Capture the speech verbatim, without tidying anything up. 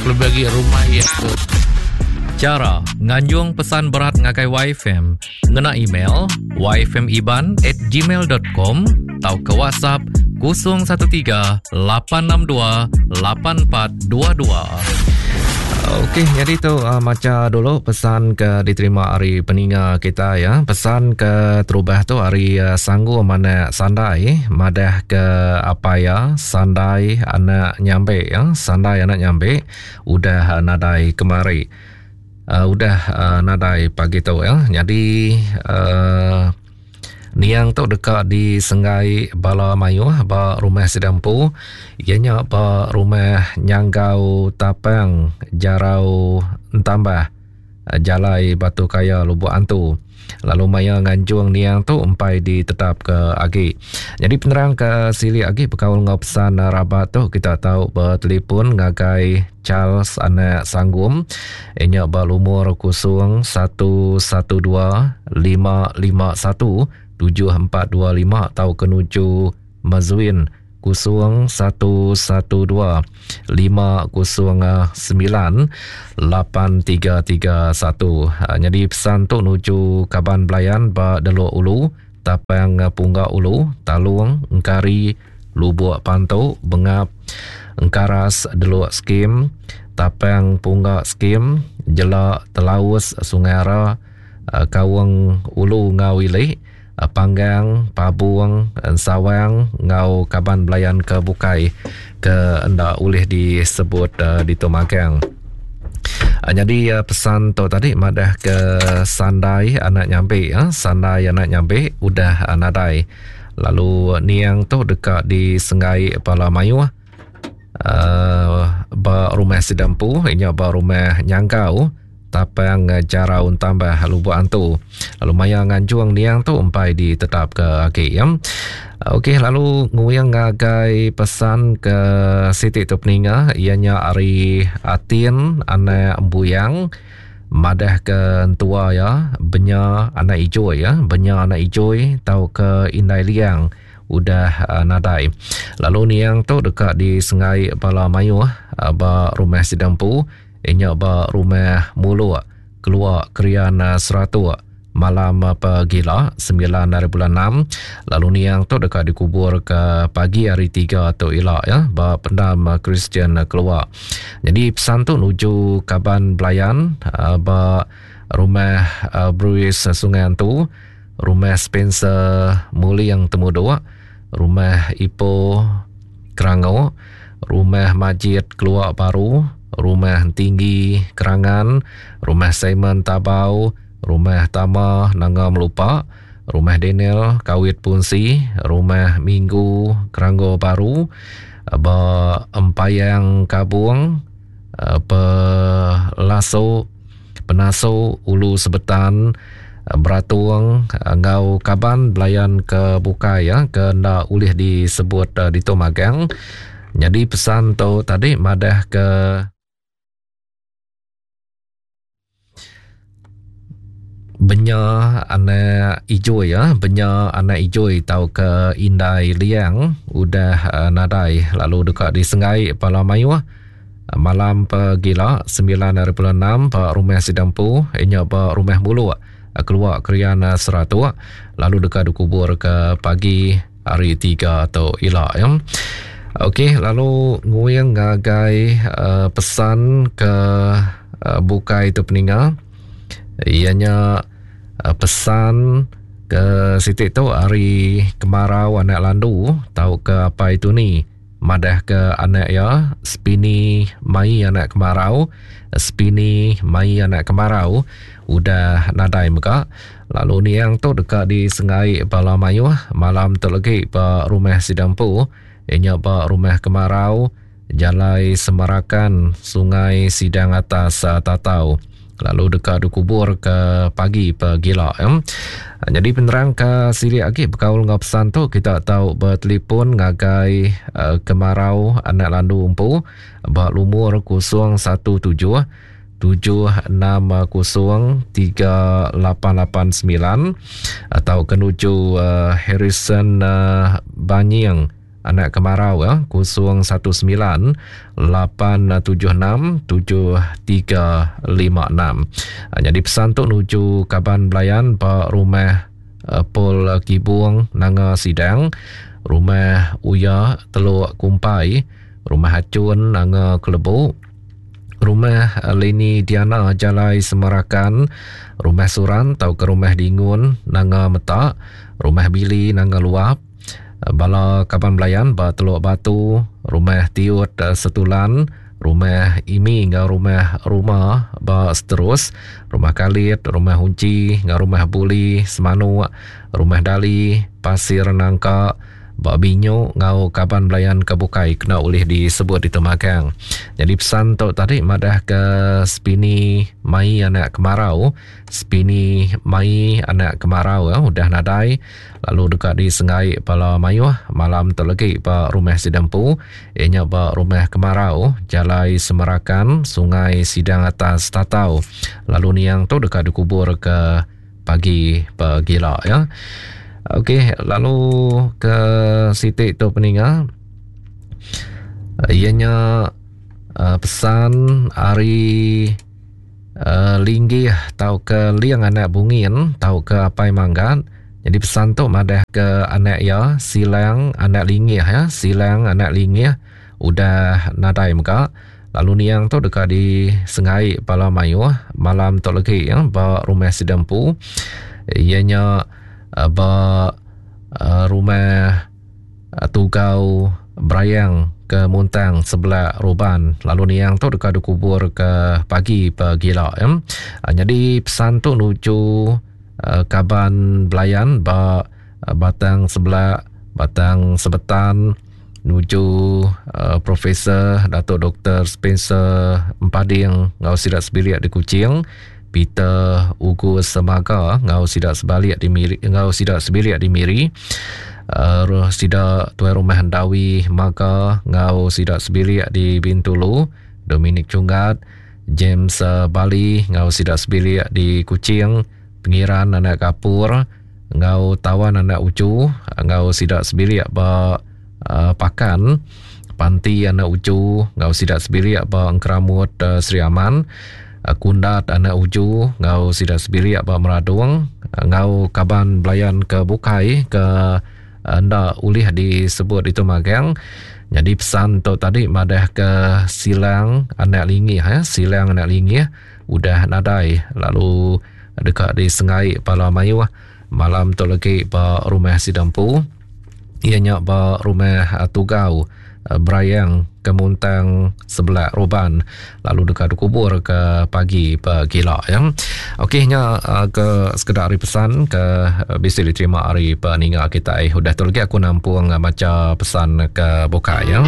Kelebih agi rumah iya ke Chara nganjung pesan berat ngagai Y F M ngena email y f m iban at gmail dot com tauka WhatsApp kosong satu tiga lapan enam dua lapan empat dua dua. Okey, jadi tu uh, maca dulu pesan ke diterima hari peninga kita ya. Pesan ke terubah tu hari uh, sanggup mana sandai madah ke apa ya sandai anak nyambe ya, sandai anak nyambe udah uh, nadai kemari. Uh, udah uh, nadai pagi tu ya. Jadi uh, niang tu dekat di Senggai Bala Mayuh ba rumah Sidampu, ianya ba rumah Nyanggau Tapang Jarau Entambah Jalai Batu Kaya Lubuk Antu. Lalu maya nganjung niang tu empai ditetap ke agi. Jadi penerang ke silik agi berkaul ngau pesan rabat tu kita tahu bertelefon ngagai Charles anak Sanggum ianya ba lumur kosong satu satu dua lima lima satu tujuh empat dua lima atau kenuju Mazuin kosong satu satu dua lima kosong sembilan lapan tiga tiga satu. Jadi pesan tu nuju Kaban Belayan ba Delok Ulu, Tapang Punggak Ulu, Talung, Engkari, Lubuk Pantu, Bengap, Engkaras Delok Skim, Tapang Punggak Skim, Jelak Telaus Sungai Ara, Kaung Ulu Ngau Ilik, Panggang, Pabung, Sawang, Ngau Kaban Belayan ke Bukai ke enda boleh disebut uh, di Tumagang. Uh, jadi uh, pesan tu tadi madah ke sandai anak nyambe ya, sandai anak nyambe udah uh, nadai. Lalu niang tu dekat di Senggai Pala Mayuh uh, ba rumah Sidampu, inya ba rumah Nyanggau Tapang Jarau Tambah Lubuk Antu. Lalu maya nganjung niang tu empai ditetap ke agi ya. Okey, lalu nguyang ngagai pesan ke Siti tu peninga ianya ari Atin anak Embuyang madah ke entua ya benya anak ijoi ya, benya anak ijoi tau ke Indai Liang udah uh, nadai. Lalu niang tu dekat di Sengai Bala Mayuh uh, ba rumah Sidampu inya ba rumah Muluk keluar Krian Seratuk malam pagila sembilan hari bulan enam. Lalu niang tu dekat dikubur ke pagi hari tiga tu ila ya ba pendam Kristian keluar. Jadi pesan tu nuju Kaban Belayan ba rumah Bruce Sungai Antu, rumah Spencer Muling Temuduk, rumah Ipoh Kerango, rumah Majid Keluar Baru, rumah Tinggi Kerangan, rumah Simon Tabau, rumah Tama Nanga Melupa, rumah Daniel Kawit Punsi, rumah Minggu Keranggo Baru, ba Empayang Kabung, Pelaso Penaso Ulu Sebetan, Beratung, Ngau Kaban Belayan ke Bukai ya, ke nda ulih disebut di Tumagang. Jadi pesan tu tadi madah ke benya anak ijoi ya, benya anak ijoi tau ke Indai Liang udah uh, nadai. Lalu dekat di Sengai Pala Mayuh malam pagila sembilan hari bulan enam ba rumah Sidampu inya ba rumah Muluk keluar Krian Seratuk. Lalu dekat dikubur ke pagi hari tiga atau ila ya. Okey, lalu nguyang ngagai uh, pesan ke uh, bukai tu peninga. Ianya uh, pesan ke sitik tu hari kemarau anak landu tau ke apa itu ni madah ke anak ya spini mai anak kemarau, spini mai anak kemarau udah nadai mega. Lalu niang tu dekat di Sengai Bala Mayuh malam tu lagi ba rumah Sidampu ianya ba rumah kemarau Jalai Semarakan Sungai Sidang Atas Tatau. Lalu dekat dikubur ke pagi pagila ya. Jadi penerang ke silik agi berkaul ngau pesan tu kita tahu bertelefon ngagai uh, kemarau anak landu empu ba lumur kosong satu tujuh tujuh enam kosong tiga lapan lapan sembilan atau kenuju uh, Harrison uh, Banying anak kemarau ya, kosong satu sembilan lapan tujuh enam tujuh tiga lima enam. Jadi pesan tu nuju kaban belayan ba rumah uh, Paul Kibung Nanga Sidang, rumah Uya Teluk Kumpai, rumah Acun Nanga Kelebu, rumah Leni Diana Jalai Semarakan, rumah Suran tau ke rumah Dingun Nanga Metak, rumah Bili Nanga Luap, bala kaban belayan ba Teluk Batu, rumah Tiut Setulan, rumah Imi ngau rumah Ruma ba Seterus, rumah Kalit, rumah Unci ngau rumah Buli Semanuk, rumah Dali Pasir Nangka ba Binyu ngau kaban belayan ke bukai kena ulih disebut di temagang. Jadi pesan tu tadi madah ke Spini Mai anak kemarau, Spini Mai anak kemarau ya, udah nadai lalu dekat di Sengai Pala Mayuh malam tu lagi ba rumah Sidempu, ianya ba rumah kemarau Jalai Semarakan Sungai Sidang Atas Tatau. Lalu niang tu dekat dikubur ke pagi pegila ya. Okey, lalu ke sitik tu peninga ianya uh, pesan hari uh, Linggih tau ke Liang anak Bungin tau ke Apai Manggat. Jadi pesan tu madah ke anak ya Silang anak Linggih ya, Silang anak Linggih udah nadai mega. Lalu niang tu dekat di Sengai Pala Mayuh malam tu lagi ya ba rumah Sidempu. Ianya ba rumah Tugau Berayang ke Muntang sebelah Ruban. Lalu niang tu dekat dikubur ke pagi pegila ya. Jadi pesan tu nuju kaban belayan ba Batang sebelah Batang Sebetan, nuju uh, Profesor Datuk Doktor Spencer Empading ngau sidak sebiliak di Kuching, Peter Ugu Semaga ngau sidak sebalik di Miri, ngau sidak sebiliak di Miri, uh, sidak tuan rumah Hendawi Maga ngau sidak sebiliak di Bintulu, Dominic Chunggat, James uh, Bali ngau sidak sebiliak di Kuching, Pengiran anak Kapur ngau Tawan anak Ucu ngau sidak sebiliak ba uh, Pakan, Panti anak Ucu ngau sidak sebiliak ba Engkeramut uh, Sri Aman, Kundat anak Uju ngau sidak sebiliak ba Meradung, ngau kaban belayan ke bukai ke ndak ulih disebut itu magang. Jadi pesan tu tadi madah ke Silang anak Lingih ya, Silang anak Lingih udah nadai lalu dekat di Sengai Pala Mayuh malam tu lagi ba rumah Sidempu, ianya ba rumah Tugau Berayang Kemuntang sebelah Roban, lalu dekat dikubur ke pagi pegila ya. Okey nya ke sekedar hari pesan ke bisa diterima hari peninga kita. Eh udah tu lagi aku nampung baca pesan ke buka ya.